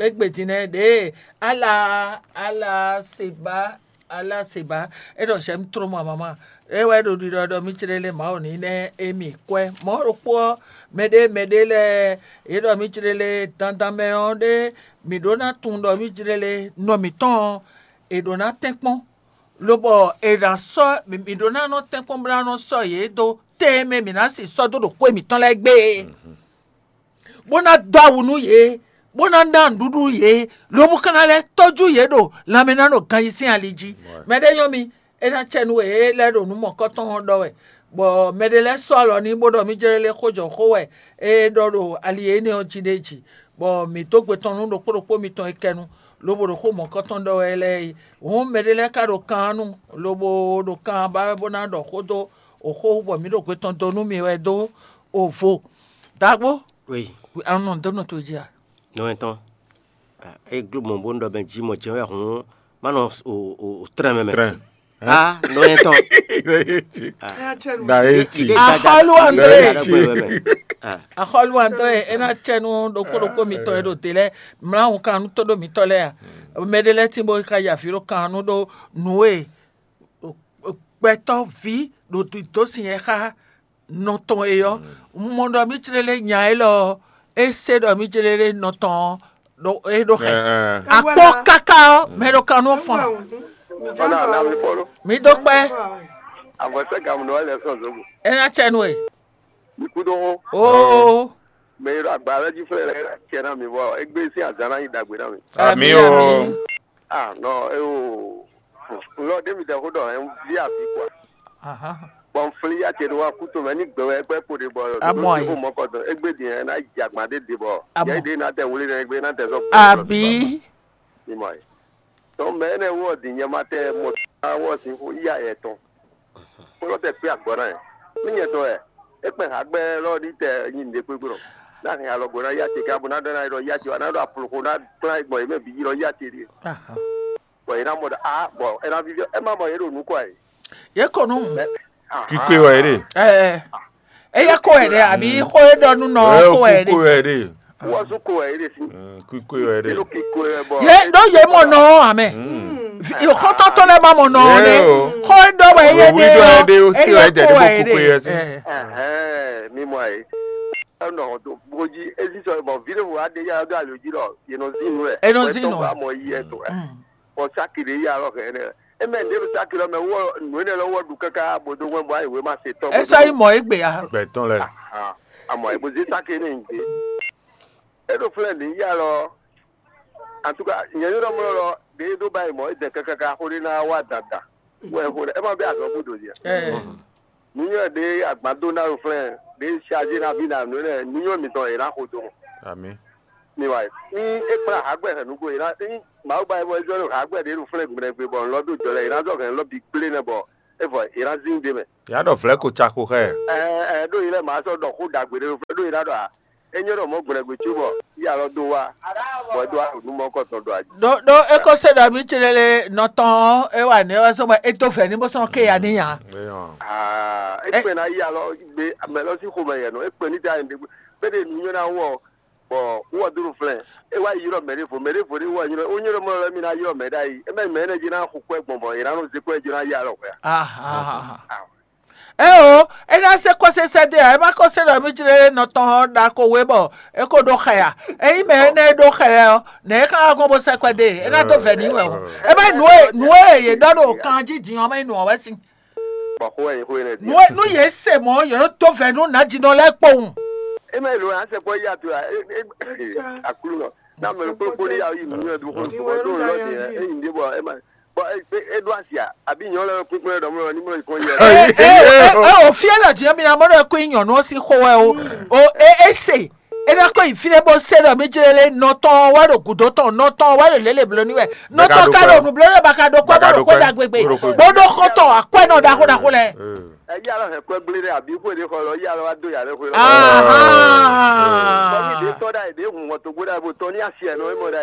égbé din nɛ́ ɖě ala ala seba ala seba é ɖɔ j'aime trop ma maman. É wɛ ɖo ɖiɖɔ ɖɔ mí clélé Mawu ní nɛ́ émí kwɛ́. Mɔ̌ ɖokpó ɔ́, mɛɖé mɛɖé lɛ́ɛ yě ɖɔ mí clélé dandan mɛ ɔ́ ɖé mǐ ɖó ná tunwun ɖɔ mí clélé nɔ mǐtɔn ɔ́, è ɖǒ ná tɛ́nkpɔ́n, lobɔ è nǎ sɔ́ mǐ ɖó ná nɔ tɛ́nkpɔ́n bó ná nɔ sɔ́ yě dó tɛn e mɛ mǐ ná sixú sɔ́ dó ɖo xwé mǐtɔn lɛ́ɛ gbé é, bó ná dó awu nú yě, bó ná ná nǔɖuɖu yě, lobo ka ná lɛ́ tɔ́jú yě ɖo lanmɛ ná ɖo ganjí sín ali jí. Mɛɖé nyɔ́ mi, é ná cɛ nú we é lɛ́ ɖo nǔ mɔ̌kɔtɔn ɔ́ ɖɔ wɛ, bɔ mɛɖé lɛ́ɛ sɔ́ alɔ n'i bó ɖɔ mí jlɛ́ lé xó jɔ xó wɛ é ɖɔ ɖo ali énɛ́ ɔ́ jí ɖé jí, bɔ mǐ dó gbe tɔn nú ɖokpó ɖokpó mitɔn e kɛ nu, lobo ɖo xó mɔ̌kɔtɔn ɖɔ wɛ lɛ́ɛ é. Hǔn mɛɖé lɛ́ɛ ka ɖo kan ɔ́ nu, lobo ɖo kan ɔ́ ba wɛ bó ná ɖɔ xó dó oxó wú bɔ mǐ ɖo gbe tɔn dó nú mi wɛ dó ovo. Dagbo, Oui, anɔ dó nɔ to jí a? nɔ etɔn. É gló mɔ bó ɖɔ mɛ jí mɔ jɛ́n wɛ hǔn má nɔ trɛn mɛ mɛ. Trɛn. Ah, nɔ etɔn. Da eti. Axɔlu André. Axɔlu André. Axɔlu André, é ná cɛ nú ɖokpó ɖokpó mitɔn e ɖo te lɛ́ɛ mlá hun kan nú tóɖó mitɔn lɛ́ɛ a? Mɛɖé lɛ́ɛ tín bó ka yi avǐ ɖo kan nú ɖó nǔ e gbɛtɔ́ ví ɖo dó sin yɛ xá nɔ tɔn e ɔ́. Un mɔ ɖɔ mí clélé nya élɔ́ ɔ́, é se ɖɔ mí clélé nɔ tɔn ɔ́ ɖo é ɖó xɛ. Akpɔ́ káká ɔ́, mɛ ɖo kan nú fɔn. Ɔnà àná mi fɔlɔ. Mi dó kpɛ́, Àbọ̀tẹ́ gàmù ló wà lẹ́ sọ̀n zógò. é ná cɛ nú ẹ. Mi kú dó hó. Oo, Mɛ yi ɖo agba lɛ jí fúnra lɛ cɛ ná mi bɔ égbé sín azǎn ná nyi ɖagbe ná mi. Àmì o. Ah nɔ é o. Lɔ ɖé mi dɛ xó ɖɔ ɛ ń ví àbí kua. aha. Bɔn flí yá cɛ ɖo wá kú tó mɛ ní gbɛ wɛ gbɛ kpo ɖe bɔ. Amɔ yìí. Kó mɔ kɔdɔ égbé din ɛ ná yi agba ɖé ɖe bɔ. Amɔ. Yɛ ɖé ná tɛ wuli nɛ égbé ná tɛ sɔ. Àbí Ìmọ̀ yìí. Tɔn mɛ énɛ́ wú ɔ̀dì nyɛ ma tɛ mɔ wɔ sín xó yá yɛ tɔn. Kpɔlɔ tɛ kpé agbɔ ná yɛ. Ní nyɛ tɔn yɛ. É kpɛ há gbɛ lɔ ní tɛ nyi nɖe kpékpé nɔ. Ná hɛn alɔ gbo ná yá ce ká bó ná ɖɔ ná yɛ ɖɔ yá ce wá ná ɖɔ aploko ná kplá gbɔn yě mɛ bǐ yi lɔ yá ce ɖíe. Aha. Bɔn yě ná mɔ ɖɔ a bɔn é ná víví ɛ má mɔ yě ɖo nǔ kɔ yìí. Yě kɔ nú. Mɛ Kikwe wɛ yé ɖe. Ɛ eye kɔ wɛ ɖe àbí xó e ɖɔ nú nɔ kɔ wɛ Kikwe ɖe. Wɛ ɖe. Wɔ sún kó wɛ yé ɖe sí. Kikwe wɛ Yé ɖe. ló ké kó wɛ bɔ. Yé ɖó yé mɔ nɔ amɛ. Yòókòtò tó lɛ má mɔ nɔ ne. Yé o. Xó e ɖɔ wɛ yé Wí ɖɔ ɛ ɖe ɖe. ó sí wɛ jɛ ɖe bó kúkú yɛ sí. Ɛhɛn, mi mɔ yìí. Ɛnɔ tó bójú ezí sɔ bɔ vidéo wa ɖe yá dó alo jí lɔ yénɔ zí nù ɛ. Enɔ zí nù ɛ. Wa mɔ yí ɛ tó ɛ. Bɔ sáki ɖe yá lɔ hɛn ɛ. Eme ɖe sáki lɔ mɛ wɔ nù ene lɔ wɔ ɖu kaka bodo ŋɛ bɔ ayi wema se tɔ. Esa yi mɔ egbe ya. Gbɛtɔn lɛ. Amɔ ebo zi sáki ne ŋgbe. Eɖo flɛ mi yá lɔ. En tout cas, nyɛ yɔrɔ mlɔ lɔ ɖe do ba yi mɔ edɛ kaka xo ɖe na wa dada. Wɛ xo ɖe ema bɛ azɔ bu do zi. Ɛ. Nuyɔ ɖe agbado na yo flɛ ɖe chargé na vi na nu ne nuyɔ mitɔn yɛ na xo do. Ami. Mi wa ní é kplá hǎgbɛ hɛn nǔgbó yě ná ní Mawu ba é bɔ é zɔ́n ɖo hǎgbɛ ɖě ɖo flɛ́ gbɛɖɛgbe bɔ nǔ lɔ dó jɔ lɛ yě ná zɔ́ hɛn lɔ bǐ gblé nɛ bɔ é vɔ yě ná zín ɖ'é mɛ. Yá ɖɔ vlɛ̌ ko ca xo xá ɛ. Ɛ ɛ ɖó yě lɛ mǎ sɔ́ ɖɔ xó ɖagbe ɖé ɖo flɛ́ ɖó yě ná ɖɔ ǎ. É nyɔ́ ɖɔ mɔ̌ gbɛɖɛgbe có bɔ yí alɔ dó wá bɔ é ɖó wá ɖo nǔ mɔ kɔ tɔn ɖɔ ají. Ɖó ɖó é ko se ɖɔ mǐ clé lé nɔ tɔn ɔ́, é wa nɛ̌ wɛ sɔ́ bɔ é dó vɛ̌ ní bó sɔ́ ké ya ní nya. Aa, é kpɛn ná yí alɔ gbé mɛ lɔ sín xomɛ yɛ nɔ é kpɛn ní ta yɛ ɖé gbé ɖé nǔ nyɔ́ ná wɔ bɔ wɔ dó nɔ flɛ́n. É wá yi ylɔ́ mɛ ɖěvo mɛ ɖěvo ɖé wɔ ylɔ́ ó nyɔ́ ɖɔ mɔ lɔ mì ná ylɔ́ mɛ ɖ'ayǐ é mɛ mɛ énɛ́ jí ná xo kwɛ́ gbɔn bɔ è nǎ nɔ zé kwɛ́ jí ná yí alɔ hwɛ. Ahan. Eo, é ná se kɔ́ sésɛ́ dé ǎ, é má kɔ́ se ɖɔ mí jlé nɔ tɔn ɔ́ ɖa ko wé bɔ é ko ɖó xɛ ǎ. Ényí mɛ énɛ́ e ɖó xɛ wɛ ɔ́, nɛ̌ é ka wá gbɔn bó sɛ́ kwɛ́ dó e? É ná dó vɛ̌ n'i wɛ o. É má nǔ e nǔ e yě ɖɔ ɖo kan jí din ɔ́, má nyí nǔ ɔ́ wɛ sín. Bɔ xó wɛ nyí xó énɛ́ Nǔ dín. E nú yě se mɔ̌, yě nɔ dó vɛ̌ nú nǎjínɔ lɛ́ɛ kpowun. É má yi lǒ ná sɛ kpɔ́ yí ato ǎ. É- é- é- Aklúnɔ. Ná mɛ kpókpó ní yà yí nǔ nyɔ́ dó xó Ní bɔ wɛ tó ló ń lɔ dá dé yá ɛ yé. Éyí ndé bɔ é má bɔ é- é- é ɖó asi à àbí nyɔ̌ lɛ kúnkún lɛ ɖɔmɔ ní mɔ ìkɔn yɛ. Ɛ ɛ ɛ ɛ ò fí ɛ lɔ dín mi amɔ ɖɔ kó nyɔ̌nu ɔ́ sín xó wɛ o o é é se é ná kó yi fí ɖé bó se ɖɔ mí jlé lé nɔ tɔn wá ɖo gǔdo tɔn nɔ tɔn wá ɖo lélè bló ní wɛ nɔ tɔn ka ɖo nǔ bló ní wɛ baka ɖo kɔ́ bó ɖo kɔ́ ɖagbe gbe bó ɖó xɔ́ntɔn akwɛ́nɔ ɖaxó ɖaxó lɛ. Ɛ yí alɔ hɛn kɔ́ gblé ɖé àbí xwé ɖé xɔ lɔ yí alɔ wá dó yà ɖé xwé lɔ. Bɔ ní ɖé Ahan. Tɔ́ ɖá yě ɖé hun wọn tó gbó ɖá bó tɔ́ ní asi ɛ nɔ é mɔ ɖá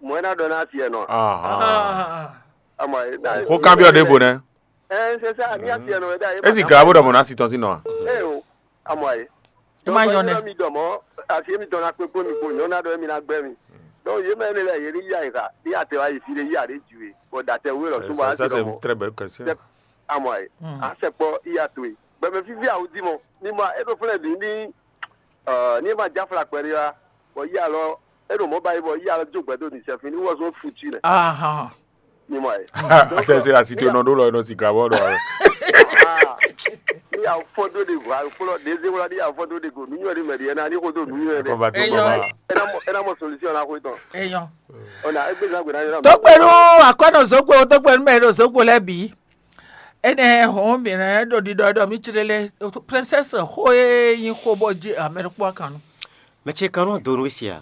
mɔ é ná ɖɔ ní asi ɛ nɔ. Ahan. Ama é ná Xó kanbyɔ́ ɖěvo nɛ́. Ɛ c'est ça ní asi ɛ nɔ é ɖá é Ezi glǎ bó ɖɔ mɔ̌ ná si tɔn sín nɔ a? É o ama é. É má nyɔ nɛ́. Mi dɔ mɔ asi mi dɔn na kpekpe mi ko nyɔ na ɖɔ mi na gbɛ mi. Donc yé mɛ ne lɛ yé ní yá yi xa ní atɛ wá yi fi ɖé yí aɖé ju é bɔ datɛ wé lɔ súnmọ́ asi Ça, c'est dɔ une mɔ. Très belle question. Amɔ ɛ Mm. Asɛkpɔ iya to e gbɛmɛ fífí awu dí mɔ ní ma é ɖo flɛ́ bǐ ní ní ma jáfla kpɛɖé wá bɔ yí alɔ é ɖo mɔ̌ ba yi bɔ yí alɔ jó gbɛdó ní sɛfin ní wɔzɔn futu nɛ Ahan. Ní mɔ ɛ Atɛ se la si to nɔ ɖó lɔ nɔ si glabɔ ɖɔ. Ní awu fɔ́n dó ɖe go awu kplɔ ɖe zé wla ní awu fɔ́n dó ɖe go nú nyɔ ɖe mɛ ɖe ɛna ní xó dó nú nyɔ ɖe Kɔba tó Eyɔ. Kɔba. Ena mɔ ena mɔ solution na xó tɔn Eyɔ. Ona é gbé zan gbé na yɔ na Tó gbé nú akwɛ́nɔ Zogbo, tó gbé nú mɛ e ɖo Zogbo lɛ́ɛ bǐ. Énɛ́ hɔn mǐ nɛ́ ɖo ɖiɖɔ ɖɔ mǐ clé lé princesse xó e nyí xó bɔ jí amɛ ɖokpó akan nu. Mɛ ce kan nɔ do nú we sia.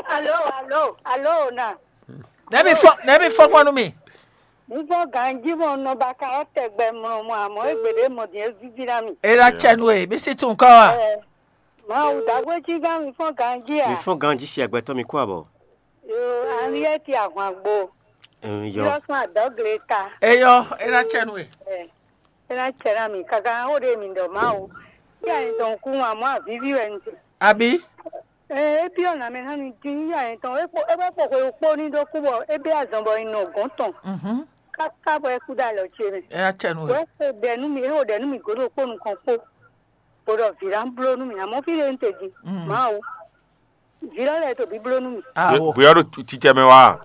Alo, alo, alo na. Nɛ́ mi fɔ nɛ́ mi fɔ kpɔ́n nú mì. Nuvɔ ganji mɔ nɔ ba ka ɔ tɛgbɛ mlɔ mɔ amɔ egbe ɖe mɔ din evivi na mi. E la cɛ nu e, mi si tun kɔ wa. Ɛ, Mawu dagwe ji gan mi fɔ ganji Mi a. Fɔ́n ganjí si agbɛtɔ́ mi kú abɔ. Yo, Henriette Ahwangbo. Ɛn, yɔ. Yɔ sɔn adɔgle ta. Eyɔ, e la cɛ nu e. Ɛ, ena cɛ na mi kaka o de mi dɔ Mawu. Ti a ni dɔn ku wa mɔ avivi wɛ n te. Abi. Ɛ, e bi ɔ na mɛ na mi din ya ni tɔn. E kpo e bɛ kpo ko kpo ni do ku bɔ e bɛ azɔn bɔ in nɔ gɔn tɔn. Mhm. Kaka bɔ e ku da lɔ ce mɛ. E la cɛ nu e. Wɛ ko dɛ nu mi e o dɛ nu mi godo kpo nukɔn kpo. Bo ɖɔ vǐ ná bló nú mì, amɔ̌ fí ɖé un te din. Mm. Mawu, vǐ lɔ lɛ́ɛ to bíbló nú mì. Awo. Bóyá ɖo titsɛ mɛ wá.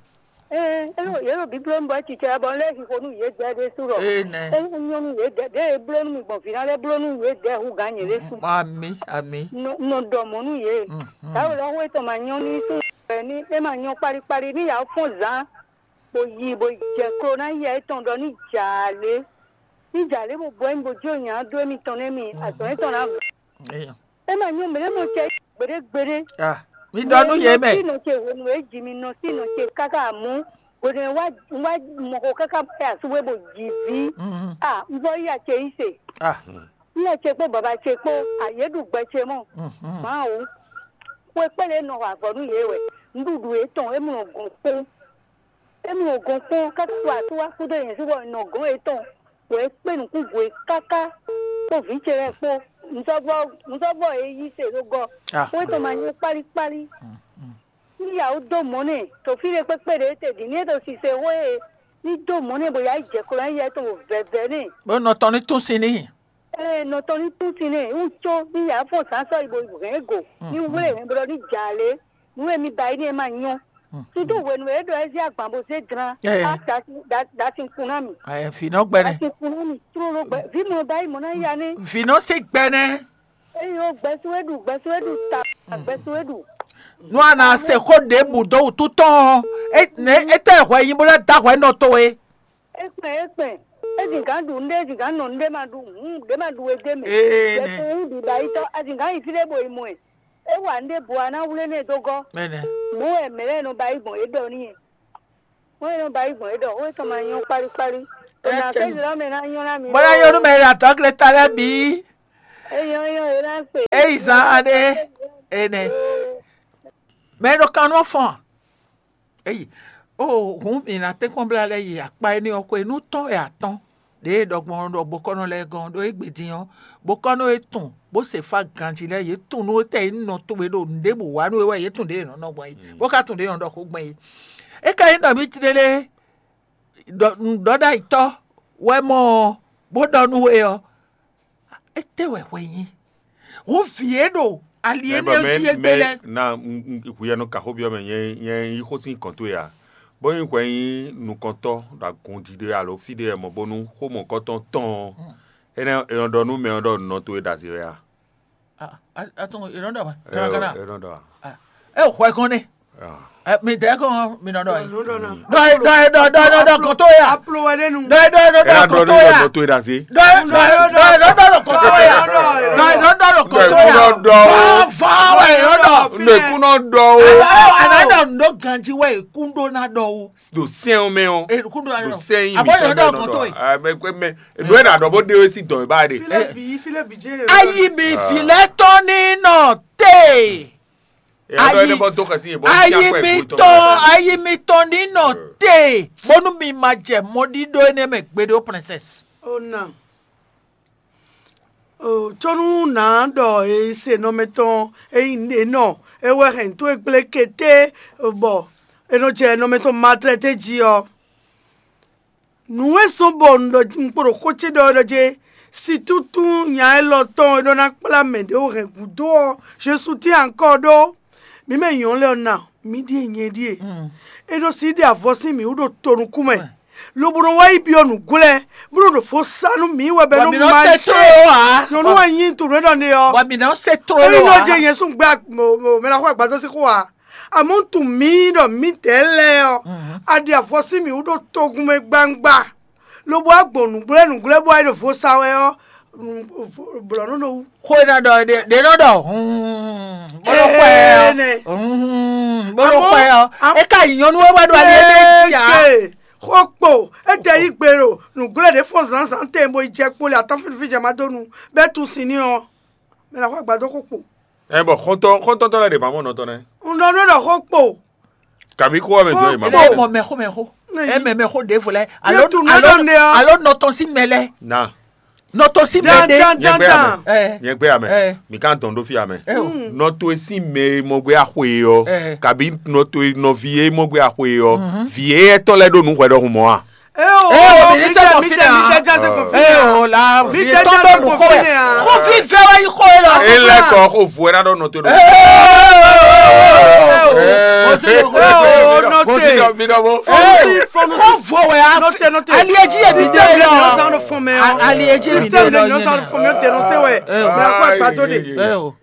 Ee, é ɖo yě ɖo bíbló nú bɔ titsɛ bɔ lɛ́ xixo nú yě dɛ ɖésú ɖɔ. Ee nɛ. É nyɔ́ nú yě dɛ ɖě e bló nú mì gbɔn vǐ ná lɛ́ bló nú yě dɛ hu gǎn nyě ɖésú. Ami ami. Nɔ nɔ ɖɔ mɔ̌ nú yě. Mhm. Táwo lɔ xó étɔn ma nyɔ́ ní sú ní é ma nyɔ́ kpálíkpálí ní yǎ fɔ́n zǎn. Bó yi bó jɛ klo ná yɛ étɔn ɖɔ ní jǎ lé. Ní jǎ lé bó bɔ ɛ bó jó nya dó émítɔn nɛ́ mi azɔn étɔn ná vɔ. Eya. É ma nyɔ́ mɛ ɖé mɔ cɛ gbeɖé gbeɖé. Ah, mi ɖɔ nú yé mɛ. Nɔ sí nɔ ce hwenu e ji mi nɔ sí nɔ ce káká amú. Hwenu e wá wá mɔ xo káká bá yà súwé bó ji ví. Mhm. Ah, un vɔ yí acɛ yí se. Ah. Yí acɛ kpó baba ce kpó ayé ɖu gbɛ ce mɔ. Mhm. Mawu. Xwe kpɛ́ lě nɔ xɔ avɔ nú yě wɛ. Nǔɖuɖu yětɔn é mlɔ gɔn kpó. Émi nɔ gɔn kpɔ́n káká wá tó wá kúdó nyɛ sí bɔ un nɔ gɔn yětɔn, bɔ é kpé nǔkún gwe káká, kpó vǐ ce lɛ́ɛ kpó. Un sɔ́ vɔ un sɔ́ vɔ é yí se ɖó gɔ́, Ah. Xó étɔn ma nyɔ́ kpálíkpálí. Mm, mm. Ní yǎ wú dó mɔ̌ nɛ, to fí ɖé kpékpé ɖě te din, ní é ɖo sise xó e, ní dó mɔ̌ nɛ bɔ yǎ yi jɛ klo ná yɛ tɔn bɔ vɛvɛ nɛ. Bó nɔ tɔn ní tún sin n'i. Ee, nɔ tɔn ní tún sin nɛ, wú có ní yǎ fɔ́n zǎn sɔ́ yi bɔ hɛ̌n go, ní wlé hɛ̌n bɔ ní jà lě, nǔ e mi ba yi ní e ma nyɔ́. Sudo hwenu e é ɖɔ é zé agban bó zé dlán, Ee. Á da sin- da- da sin kun ná mì. Ɛ, fǐ nɔ gbɛ Da nɛ. Sin kun ná mì tlóló gbɛ. Vǐ mɔ ba yi mɔ̌ ná ya nɛ́. Fǐ nɔ se gbɛ nɛ. Eye ó gbɛsú é ɖu, gbɛsú é ɖu ta, gbɛsú é ɖu. Nú a nǎ se xó ɖěbǔ dó wútu tɔn ɔ́, é nɛ é tɛ hwɛ nyi bó ná da hwɛ nɔ towe. É kpɛn é kpɛn. É zin gǎn ɖu nɖé, é zin gǎn nɔ nɖé ma ɖu hǔn ɖé ma ɖu wé dé mɛ. Ee, Yɛ nɛ. Ko wú ɖiɖa yi tɔ́, a zin gǎn yi fí ɖé bo yi mɔ ɛ. É wa nǔ ɖěbǔ ǎ ná wlé nú ɛ dó gɔ́. Mɛnɛ. Mɔ̌ wɛ mɛ̌ lɛ́ɛ nɔ ba yí gbɔn yě ɖɔ n'i. Mɔ̌ e nɔ ba yí gbɔn yě ɖɔ xó étɔn ma nyɔ́ kpálíkpálí. Ɔ́, nǎ kpé zǐlɔ́ mɛ ná nyɔ́ ná mi. Bɔlá yɔnu mɛ ɖo atɔ́gleta lɛ́ɛ bǐ. É nyɔ́ nyɔ́ é ná kpe. É yi zán aɖé. Énɛ́. Mɛ ɖo kan nɔ fɔn. Eyi, ó hǔn mǐ ná tɛ́nkpɔ́n blá lɛ́ yi akpá énɛ́ ɔ́ xwé nú tɔ́n wɛ atɔ́n. Ɖěe ɖɔ gbɔn ɖɔ bokɔ́nɔ lɛ́ɛ gɔ́n ɖó égbé din ɔ́, bokɔ́nɔ e tunwun bó se fá ganjí lɛ́ɛ yě tunwun nú étɛ́ e nɔ towe ɖo nǔɖébǔ wa nú we wɛ yě tunwun ɖě è nɔ nɔ gbɔn é, bó ka tunwun ɖě è nɔ ɖɔ xó gbɔn é. É ka nyí ɖɔ mǐ tlélé ɖɔ nǔɖɔɖ'ayǐtɔ́ wɛ mɔ ɔ́, bó ɖɔ nú we ɔ́, étɛ́ wɛ hwɛ nyí? Hǔn vǐ e ɖo ali énɛ́ jí égbé lɛ́ɛ. Na hu yɛ nɔ ka xó byɔ́ mɛ, nyɛ nyɛ yí xó sín kɔn towe ǎ. Bó nyí hwɛ nyí nukɔntɔ́ ɖo agun jí ɖé alo fí ɖé wɛ mɔ̌ bónú xó mɔ̌kɔtɔn tɔn ɔ́, énɛ́ è nɔ ɖɔ nú mɛ ɔ́ ɖɔ nɔ towe ɖo azě wɛ a? Atɔn è nɔ ɖɔ wɛ. È nɔ ɖɔ a? É hwɛ gɔn nɛ. Mi dɛ kɔn mi nɔ ɖɔ yi. Ɖɔ yi ɖɔ yi ɖɔ ɖɔ ɖɔ ɖɔ kɔn to ya. Aplo wɛ ɖe nu. Ɖɔ yi ɖɔ yi ɖɔ ɖɔ kɔn to ya. Ɖɔ yi ɖɔ yi ɖɔ ɖɔ kɔn to ya. Ɖɔ yi ɖɔ yi ɖɔ ɖɔ kɔn to ya. Ɖɔ yi ɖɔ ɖɔ kɔn to ya. Vɔn vɔn wɛ yɔ ɖɔ. Nde kun nɔ ɖɔ o. Ana ɖɔ ndo ganji wɛ kun ɖo na ɖɔ o. Ɖo sɛn o mɛ o. Kun ɖo na ɖɔ. Abɔ yɔ ɖɔ kɔn to yi. Mɛ mɛ ɖo ɛ na ɖɔ bó ɖe o si dɔn ba de. Filɛ bi filɛ bi jɛ. Ayi mi filɛ tɔn ni nɔ te. Ayi mitɔn ayi mitɔn ní nɔ te bónú mi ma jɛ mɔɖíɖó énɛ́ mɛ gbeɖé ó, princesse. Ó nà ó, có nú nǎ ɖɔ è se nɔ mɛtɔn e nyí nǔɖé nɔ é wɛ hɛn tó e gblé kété, bɔ è nɔ jɛ nɔ mɛtɔn matlɛté jí ɔ́. Nǔ e zɔ́n bɔ un ɖɔ un kpo ɖo xó ce ɖɔ wɛ ɖɔ jɛ sitútún nya élɔ́ tɔn e ɖɔ ná kplá mɛ ɖě wǒ hɛn gǔdo ɔ́, Jesu tín ankɔ́ ɖó. Mǐ mɛ nyɔ̌nu lɛ́ɛ ɔ́ na, mǐ ɖíe nyɛ ɖíe. É nɔ sí ɖe avɔ sín mǐ wú ɖo to nukún mɛ, lobo nɔ wá yi byɔ́ nǔglɛ́, bó nɔ ɖo fó sá nú mǐ wɛ bɛ nɔ ma se tló ǎ. Nyɔ̌nu wɛ nyí tunwun ɖɔ ne ɔ́. Bɔ mǐ nɔ se tló ǎ. Ényí nɔ jɛ nyɛ sún gbɛ mɛ ná xɔ agbadɔ sín xó ǎ. Àmọ́ tunwun mǐ ɖɔ mǐdɛɛ lɛ́ɛ ɔ́, a ɖi avɔ sín mǐ wú ɖo togun mɛ gbangba, lobo wá gbɔn nǔgblɛ́ nǔgblɛ́ bó wá yi ɖo vo sa wɛ ɔ́, blɔ̌ nú nɔ wú. Xó e ná ɖɔ ɖě nɔ ɖɔ bó nɔ xɔ ɛ ɔ́, bó nɔ xɔ ɛ ɔ́, é ka nyí nyɔ̌nu e wɛ ɖo ali énɛ́ jí ǎ. Xó kpo, é jɛ yí gbe ɖo nǔgblɛ́ ɖě fɔ́n zǎnzǎn tɛn bó yi jɛ kpo le atán fínfín jɛ má dó nu, bɛ́ tunwun sin ní ɔ́, mɛ ná xɔ agbadó xó kpo. Ɛ bɔ xɔntɔn xɔntɔntɔ lɛ ɖe ma mɔ nɔtɔn nɛ. Un ɖɔ nú ɖɔ xó kpo. Kabi kó wɛ mɛ jɔ yi ma. Ɛ mɔ mɛ xó mɛ xó. Ɛ mɛ mɛ xó ɖěvo lɛ. Alo alo alo nɔtɔn sí mɛ lɛ. Na. Nɔtɔn sí mɛ ɖe. Nyɛ gbé amɛ. Nyɛ gbé amɛ. Mi kan dɔn ɖó fi amɛ. Nɔtɔn sí mɛ mɔ gbé axwe yɔ. Kabi nɔtɔn nɔvi yé mɔ gbé axwe yɔ. Vi yé tɔ lɛ ɖo nu hwɛ ɖɔhun mɔ a. Ee o, mi ní sẹ́kọ̀ọ́ fínà. Ee o, la mi tọ́ bẹ́ẹ̀ mú kó wẹ̀. Kó fi fẹ́ wá yí kó e lọ. E lɛ kɔ ko vo ɛ na dɔ nɔte do. Ee o, nɔte. Kó vo wẹ̀ a. Nɔte, nɔte. Alieji yɛ mi de lɔ. Alieji mi de lɔ. Nɔte, nɔte wɛ. Mɛ ko agbato de.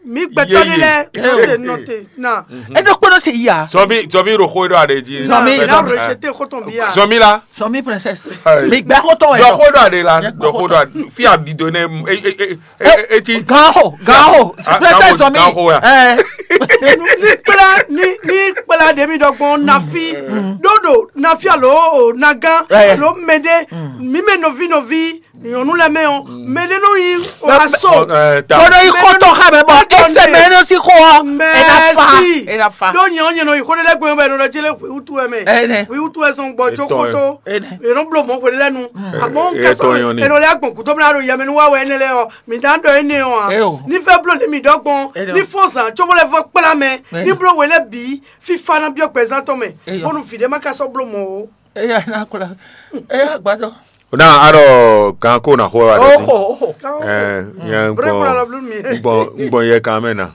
Mi gbɛtɔ ni lɛ. Nɔte, nɔte. Na. E do kpɔnɔ se yi a. Sɔmi sɔmi ɖo xo ɖo aɖe dzi. Sɔmi. Na rejeté xɔtɔn bi a. Sɔmi la. Sɔmi princesse. Mi gbɛ xɔtɔn yɛ. Dɔ xo ɖo aɖe la. Dɔ xo ɖo aɖe fi a ɖido ne e e e e ti. Gan xo gan xo princesse sɔmi. Gan xo ya. Ni kpla ni ni kpla ɖe mi ɖɔgbɔn nafi ɖoɖo nafi alo o nagan alo mɛɖe mi mɛ nɔvi nɔvi. Nyɔnu lɛ mɛ o, mɛ ɖe nɔ yi o aso. Bɔnɔ yi kɔtɔ xa mɛ bɔ ese mɛ nɔ si xɔ ɔ. Ɛna fa ɛna fa. Ɖo nyɛ ɔnyɛ nɔ yi xɔ ɖe lɛ gbɛ bɛ nɔ ɖe jele wi wutu wɛ mɛ. Wi wutu wɛ sɔn gbɔ tso kɔtɔ. Yɛ nɔ blo mɔ xɔ ɖe lɛ nu. Amɔ nkasɔ yɛ nɔ lɛ agbɔn kudo mla ɖo yɛmɛ nu wa wɛ ɛnɛ lɛ ɔ. Mi da dɔ ɛnɛ ɔ a. Ni fɛ blo ni mi dɔ gbɔn. Ni fɔ zan tso bɔ lɛ fɔ kpla mɛ. Ni blo wɛ lɛ bi. Fifa na biɔ gbɛzan tɔn mɛ. Bɔnu vi ɖe ma ka sɔ blo mɔ o. Eya na kula. Eya gbadɔ. Na aɖɔ gan ko na xo wa ɖe. Oho oho. Ɛ nyɛ Brɛ kura lɔ blu mi. Ngbɔn ngbɔn yɛ kan mɛ na.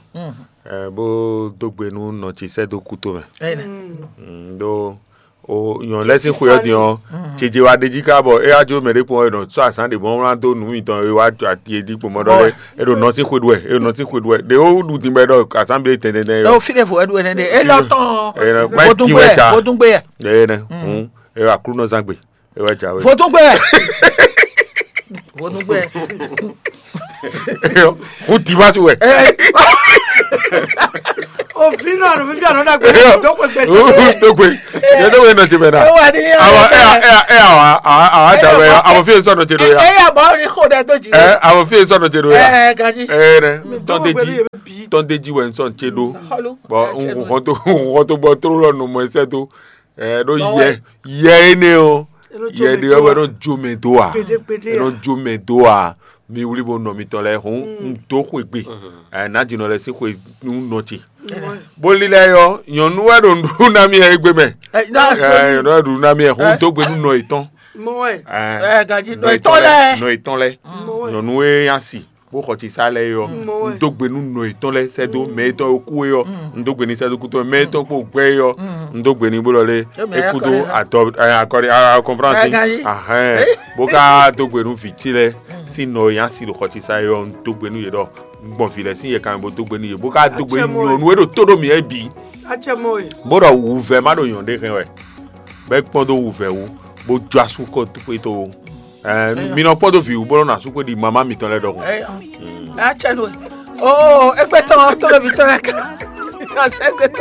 Ɛ bó dó gbe nú nɔ tsi sɛ dó kúto mɛ. Ɖó o nyɔ lɛ sín xwe ɔ́ din ɔ́ tsidze wa ɖe jí ká bɔ é wá jó mɛ ɖé kpɔn ɔ́ nɔ sɔ azán ɖe bɔ wlán dó nǔ mitɔn é wá ati é dí kpɔn mɔ ɖɔ lɛ é ɖo nɔ sín xwe ɖu wɛ é ɖo nɔ sín xwe ɖu wɛ ɖe ó ɖu din bɛ ɖɔ azán bi tɛntɛn tɛn. Ɛ o fi ɖe vo ɛ ɖu ɛnɛ ɖe é lɔ tɔn. Vodungbe vodungbe yɛ. Ɛ nɛ hun é wá Aklúnɔzán gbe. Ewa jawe. Vodungbe. Vodungbe. Eyɔ, o di wa tu wɛ. Ɛ. Vino no vivia no na gbe do ko gbe se. Tó gbe. Yẹ tó gbe nɔ ti mɛ na. Ewa ni ya. Awa ɛ ɛ ɛ awa awa awa da wɛ ya. Awa fi sɔ nɔ ti do ya. Ɛ ya bɔ ni ko dɛ to ji. Ɛ awa fi sɔ nɔ ti do ya. Ɛ gaji. Ɛ nɛ. Tɔndeji tɔndeji wɛ nsɔn ti do. Bɔn nkɔn to nkɔn to bɔ toro lɔ nɔ mɔ ɛsɛ to. Ɛ ɖo yɛ yɛ ene o. Yɛ ɖe wɛ nɔ jo mɛ do a. Nɔ jo mɛ do a. Mi wuli bo nɔ mitɔn lɛ́ɛ hɔn un dó xwegbe. Ɛ nǎjínɔ lɛ́ɛ sín xwe nú nɔ ce. Bó lílɛ́ yɔ nyɔ̌nu wɛ ɖo nǔɖuɖu ná mì wɛ égbé mɛ. Nyɔ̌nu wɛ ɖo nǔɖuɖu ná mì wɛ hɔn un dó gbe nú nɔ yětɔn. Mɔ wɛ. Ɛ gaji nɔ etɔn lɛ. Nɔ etɔn lɛ. Mɔ wɛ. Nyɔ̌nu e nya si bó xɔ ci sá lɛ yɔ. Mɔ wɛ. Un dó gbe nú nɔ etɔn lɛ sɛ́ dó mɛ etɔn e kú e yɔ. Un dó gbe ní sɛ́ dó kútɔ mɛ etɔn kpó gbɛ e yɔ. Un dó gbe ní bó lɔ lé. Émɛ é kúdó akɔrin hã. Adɔ ɛ, akɔrin a kɔnfránsi. Ɛ gaji. Ahɛn. Bó ká dó gbe nú vǐ ce lɛ sín nɔ e nya si ɖo xɔ ci sá yɔ. Un dó gbe nú yě ɖɔ un gbɔn vǐ lɛ sín yɛ kan bó dó gbe nú yě bó ká dó gbe nú nyɔ̌nu e ɖo tó ɖo mǐ wɛ bǐ. Acɛ mɔ e. Bó ɖɔ wǔvɛ́ má ɖo nyɔ̌nu ɖé hɛn wɛ. Bɛ kpɔ́n dó wǔvɛ́ wú bó jó asú kɔ xwé tó. Ɛ mi nɔ kpɔ́ dó vǐ wú bó nɔ asú xwé ɖi mamá mitɔn lɛ́ɛ ɖɔhun. Acɛ nɔ e. Oo, égbé tɔn tó ɖo vǐ tɔn lɛ ká. Asɛ égbé tɔn.